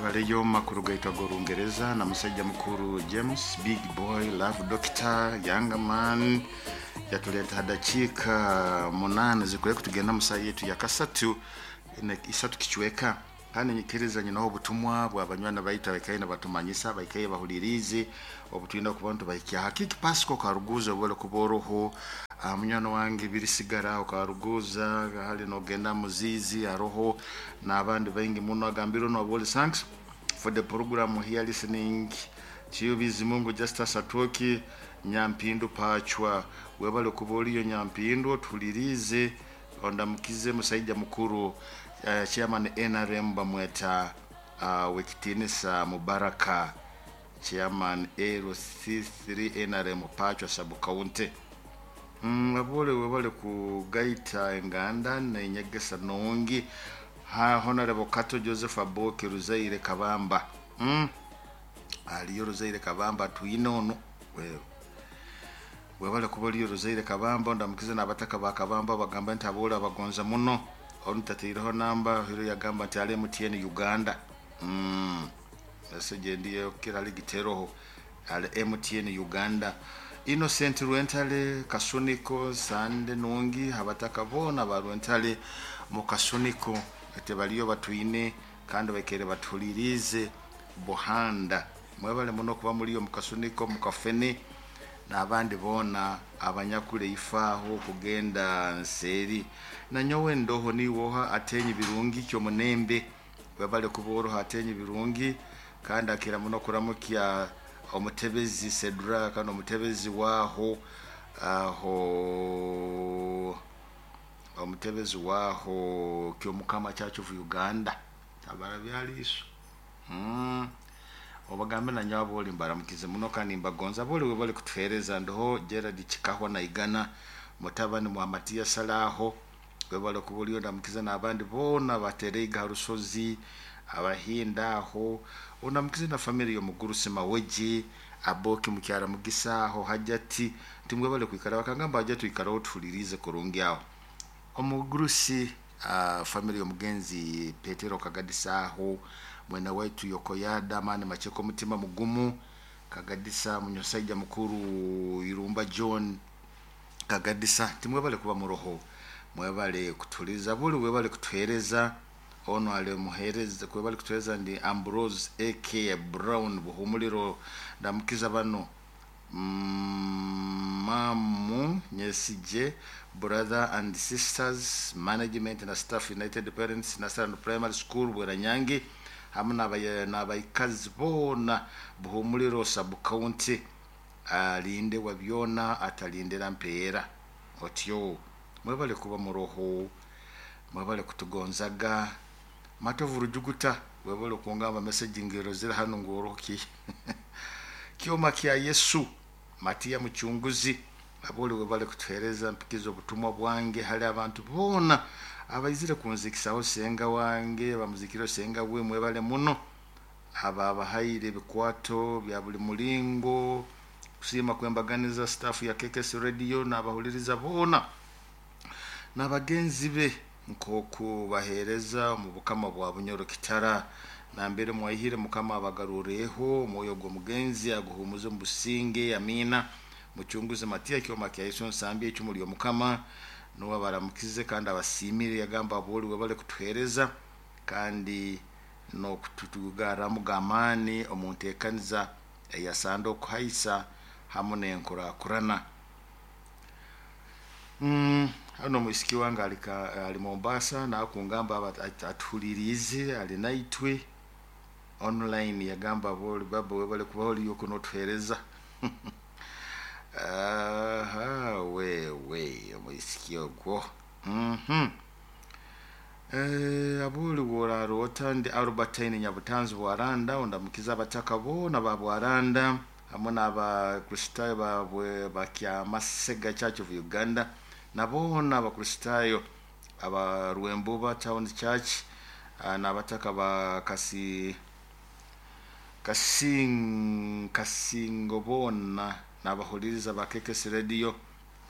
Webaleyo makuru gaitu ag'Orungereza na musajja mukuru James Big Boy Love Doctor Young Man yatuleeta dakiika 8 zikwiye kutugenda mu saa yetu ya kasatu isatu kicweka. Kandi nyikiriza nyinaho obutumwa bwa banywani baitu abaikaire nibatumanyisa, abaikaire bahuliriize obutwine kuba nitubahikya. Hakiki Pasco Karuguza obwele kuba oroho, munywani wange birisigara okaruguza hali nogenda muzizi aroho n'abandi baingi muno. Agambire no thanks for the program here listening to you Bizimungu Justus Atwoki Nyampindu Pachwa. Webale kuba oliyo Nyampindu, otuliriize, ondamukize musaija mukuru chairman NRM bamweta Wekitinisa Mubaraka, chairman LC3 NRM Pachwa sub county. Abole webale kugaita enganda nenyegesa nungi. Ha Honorable Kato Joseph Aboki Ruzaire Kabamba. Aliyo Ruzaire Kabamba twine ono wewe webale kuba oliyo Ruzaire Kabamba, ndamukize n'abataka ba Kabamba bagamba nti abole abagonza muno. Onu tateireho namba hiro yagamba nti ali MTN Uganda. Message ndiyo kira ligiteroho ali MTN Uganda. Innocent Rwentale Kasuniko Sande nungi abataka bona ba Rwentale mu Kasuniko ate baliyo batwine kandi baikere batulirize buhanda. Mwebale muno kuba muliyo mu Kasuniko mu Kafene n'abandi bona abanyakule ifaaho kugenda nseeri. Nanyowe ndoho niwoha atenyi birungi kyo munembe. Webale kuba atenyi birungi kandi akira muno kuramukya omutebezi Cedra kandi omutebezi waho aho omutebezi waho Kyomukama Church of Uganda tabara byaliso. Obagambe na nyabo boli mbaramukize muno kandi mbagonza boli webale kutuhereza. Ndoho Gerard Chikahwa na Igana mutabani mwa Matiya Salaho webale kuba ndamukize n'abandi bona batereiga harusozi abahinda aho. Ondamukize na family y'omugurusi Maweji Aboki mukyara Mugisa aho Hajati timwebale kwikara bakangamba Hajati ikara otulirize kurungi aho. Omugurusi family y'omugenzi Petero Kagadisa aho mwena waitu Yokoyada mani macheko mutima mugumu Kagadisa munyosaija mukuru Irumba John Kagadisa timwebale kuba muroho, mwebale kutuliza buli webale kutuhereza. Ono ale muhereza kwebale kutuhereza ndi Ambrose AK Brown Buhumuliro ndamukiza bano mamu Nyesije brother and sisters management na staff United Parents National Primary School Bweranyangi hamwe n'abaikazi bona Buhumuliro sub county. Alinde wa byona atalindira mpeera otyo. Mwebale kuba muroho, mwebale kutugonzaga. Matovu Rujuguta webale kungamba message ngero zira hano ngoroki Kyoma kya Yesu Matia Muchunguzi abole webale kutuhereza mpikizo obutumwa bwange hali abantu bona abaizire kunzikisaho senga wange bamuzikiro senga we mwebale muno aba abahaire ebikwato bya buli mulingo kusiima kwembaganiza staff ya KKS Radio n'abahuliriza bona n'abagenzi be nkoku bahereza mu bukama bwa Bunyoro Kitara nambere mwahire mukama abagarureho omwoyo gw'omugenzi aguhumuze mu businge amina. Muchunguzi Matia Kyoma kya Yesu nsambye ecumuli omukama nuwe baramukize kandi abasimire yagamba aboli webale kutuhereza kandi n'okutugaramu gamaani omu nteekaniza eyasanda okuhaisa hamwe n'enkurakurana. Hano mwisiki wange ali Mombasa nakungamba atuhulirize ali naitwe online yagamba boli baba webale kuba oliyo kunotuhereza. Aha wewe omwisiki ogwo. Abuli worarota ndi Albertine Nyabutanzi Bwaranda ondamukiza abataka bona ba Bwaranda hamwe n'abakristayo babwe bakyamasega Church of Uganda nabona abakristayo aba Rwembuba Town Church n'abataka ba Kasingo bona n'abahuliriza ba KKS Radio.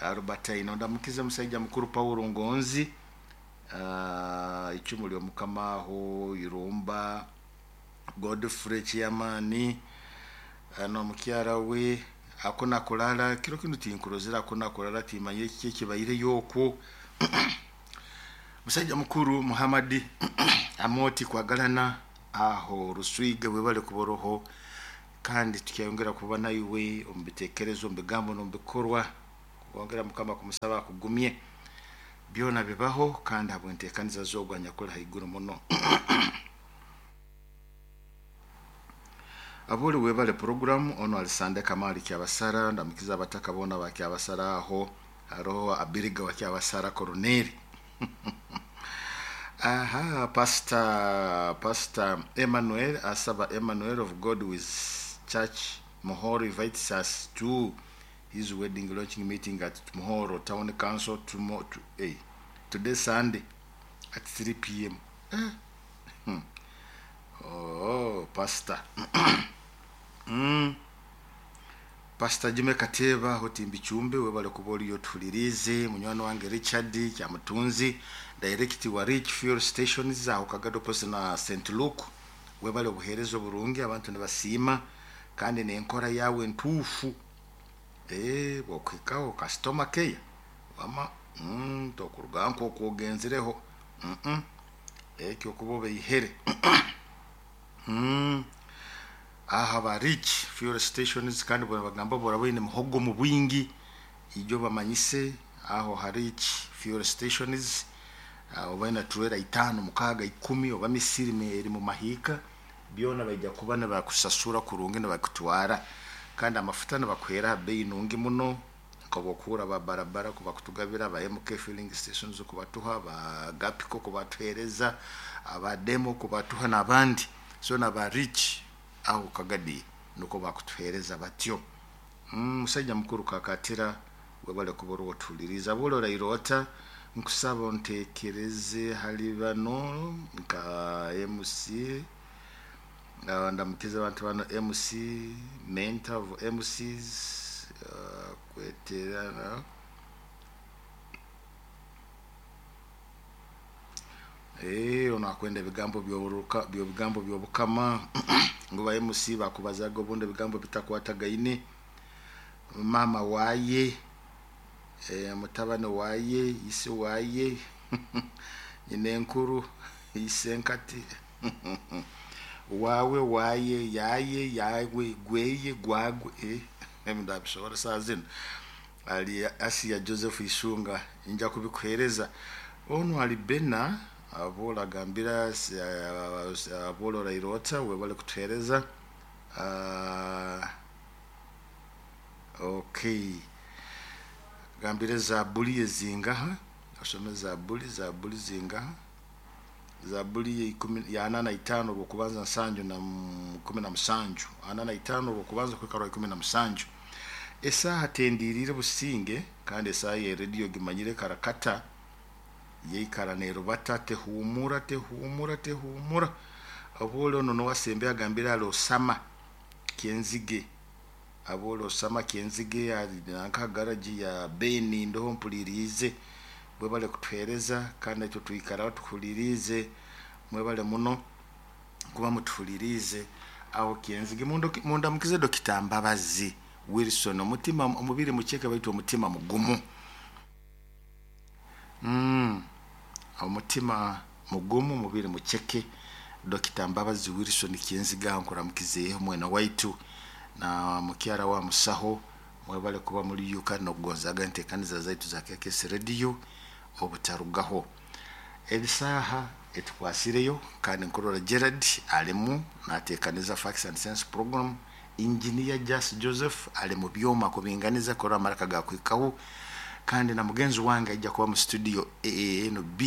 Albertine ondamukiza musajja mukuru Paulo Ngonzi icumu ly'omukama aho Irumba Godfrey Chiamani n'omukyara we akuna kulala kiro kinu tinkurozera akuna kulala timanyire kiki ekibaireyo okwo. Musajja mukuru Muhammad Amoti kwagalana aho Ruswiga webale kuboroho kandi tukyayongera kuba naiwe omu bitekerezo, omu bigambo n'omu bikorwa. Wongera Mukama kumusaba akugumye, byona bibaho kandi habw'enteekaniza z'ogwo anyakuli haiguru muno. Abuli webale program ono alisande Kamali Kyabasara, ndamukiza abataka bona ba Kyabasara aho haroho Abiriga wa Kyabasara Koroneli. Aha, Pastor Emmanuel Asaba Emmanuel of God with Church Muhoro invites us to his wedding launching meeting at Muhoro Town Council tomorrow, today Sunday at 3 p.m. Oh, Pastor. Pastor Jime Kateba hotimbi chumbe webale kuba oliyo tuhulirize. Munywani wange Richard Kyamutunzi, direct wa Rich Fuel Stations aho Kagado Post na St Luke, webale obuheereza oburungi, abantu nibasiima kandi nenkora yawe ntuufu. Bwokuhikaho customer care wama tokuruga nk'oku ogenzireho, ekyo okuba obeihere. Aha ba Rich Fuel Stations kandi bagamba boraba oine muhogo mu bwingi ijo bamanyise aho ha Rich Fuel Stations, oba ina trailer 5, 6, 10 oba misiri eri mu mahika, byona baija kuba nibakusasura kurungi nibakutwara, kandi amafuta nibakuheera ha bei nungi muno nkobokuura ba barabara kubakutugabira, ba MK Filling Stations kubatuha, ba Gapiko kubatuhereza, aba Demo kubatuha n'abandi. So naba Rich aho Kagadi nuko bakutuhereza batyo. Musajja mukuru Kakatira webale kuba oriwo tuhuliriza. Bw'oli orairota nkusaba ontekereze hali bano nka MC, ndamukiza abantu bano MC, mentor of MCs, kweterana ono akwenda ebigambo by'oburuka, bigambo by'obukama ngu ba MC bakubazaga obundi ebigambo bitakwatagaine. Mama waye, mutabani waye, ise waye, nyina enkuru, ise nkati wawe waye yaye yawe gweye gwagwe, ndabishobora saa zino. Ali Asia Joseph Isunga nja kubikuhereza. Ono ali Bena abola agambira abola orairota webale kutuhereza. Okay, gambire Zabuli ezingaha, asome Zabuli zingaha, Zabuli ya 45 rwokubanza 7 na 17, 45 rwokubanza kwikara 17. Esaha tendirire businge kandi esaha ya radio gimanyire karakata yeikara nerubata tehumura tehumura tehumura. Abole ono nowasembe agambira ali Osama Kyenzige, abole Osama Kyenzige nanka garaji ya Beni ndoho mpulirize, bwebale kutuhereza kandi ekyo twikara tukulirize, mwebale muno kuba mutuhulirize aho Kyenzige. Mundamukize Dokita Mbabazi Wilson, omutima omubiri mucheke baitu omutima mugumu. Omutima mugumu mubiri mucheke. Dokita Mbabazi Wilson Kyenzige nkuramukizeeho mwena waitu na mukyara wa musaho, mwebale kuba muri yuka nokugonzaga enteekaniza zaitu za KKS Radio obutarugaho. Ebisaha etukwasireyo kandi nkurora Gerard alimu nateekaniza Facts and Sense program, Engineer Jas Joseph ali mu byoma kubinganiza kurora amaraka gakwikaho, kandi na mugenzi wange aija kuba mu studio AANB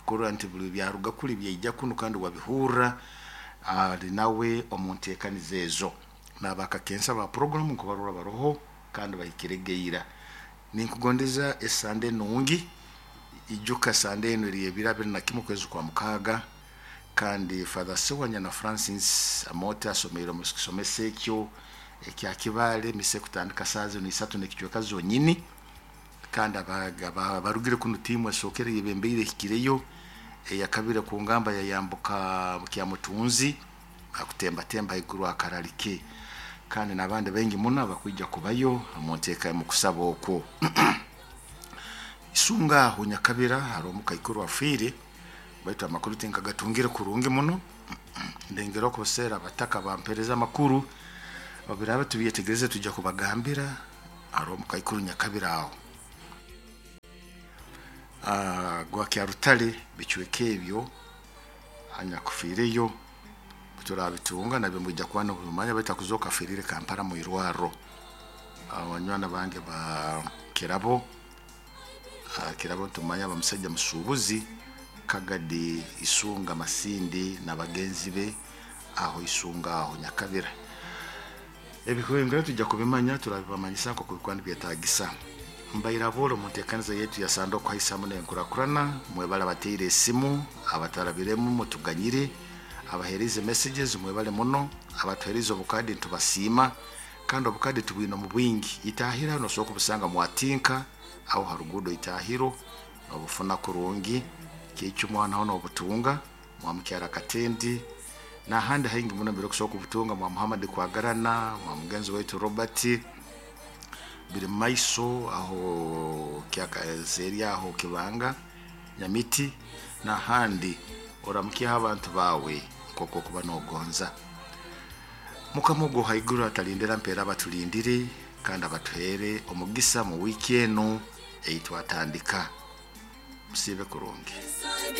kurora nti buli byaruga kuli byaija kuno kandi wabihurra ali nawe omu nteekaniza ezo. Nabakakensa ba program nkubarora baroho kandi bahikiregeira. Ninkugondeza esande nungi, ijuka sande eno eri ebiro 21 kwezi kwa 6, kandi Father Sewanya na Francis Amote asomeire omu kisomesa ekyo ekya Kibale mise kutandika saa zino 3 n'ekicweka zonyini, kandi abarugire kuno tiimu esookere yebembeire ehikireyo, eyakabire ku ngamba yayambuka Kyamutunzi. Akutembatemba haiguru akaralike, kandi n'abandi baingi muno abakwija kubayo omu nteeka mu kusaba okwo. Isunga aho Nyakabira haroho omukaikuru afiire, baitu amakuru tinkagatungire kurungi muno. Ndengera okuseera abataka bampereza amakuru, obiraba tubyetegereze tujja kubagambira. Haroho omukaikuru Nyakabira aho. Gwa Kyarutale bicweka ebyo anyakufiireyo turabitunga nabyo mwija kuba nimubimanya, baitu akuzooka afiirire Kampala mu irwarro. Abanywani bange ba Kirabo, Kirabo nitumanya aba musaija musuubuzi Kagadi Isunga Masindi na bagenzi be aho Isunga aho Nyakabira. Ebihwengero tujja kubimanya, turabibamanyisa nk'oku bikuba nibyetaagisa. Mbaire aboole omu nteekaniza yaitu ya Sande okuhaisa hamu n'enkurakurana. Mwebale abateire esimu, abatarabiremu mutuganyire, abaheerize messages mwebale muno, abatuheerize obukadi nitubasiima, kandi obukadi tubwine omu bwingi. Itaahira nosobora kubusanga mwatinka aho ha ruguudo Itaahiro nobufuna kurungi, Kiicumu naho nobutunga, mwamukyara Katendi n'ahandi haingi muno mbere okusobora kubutunga, mwa Muhammad Kwagarana, mwa mugenzi waitu Robert, biri mumaiso aho eri aho Kibanga, Nyamiti n'ahandi. Oramukyeho abantu baawe nk'oku okuba nogonza. Mukama ogu haiguru atalindira mpeera abatulindire kandi abatuheere omugisa mu wiiki enu ei twatandika. Musiibe kurungi.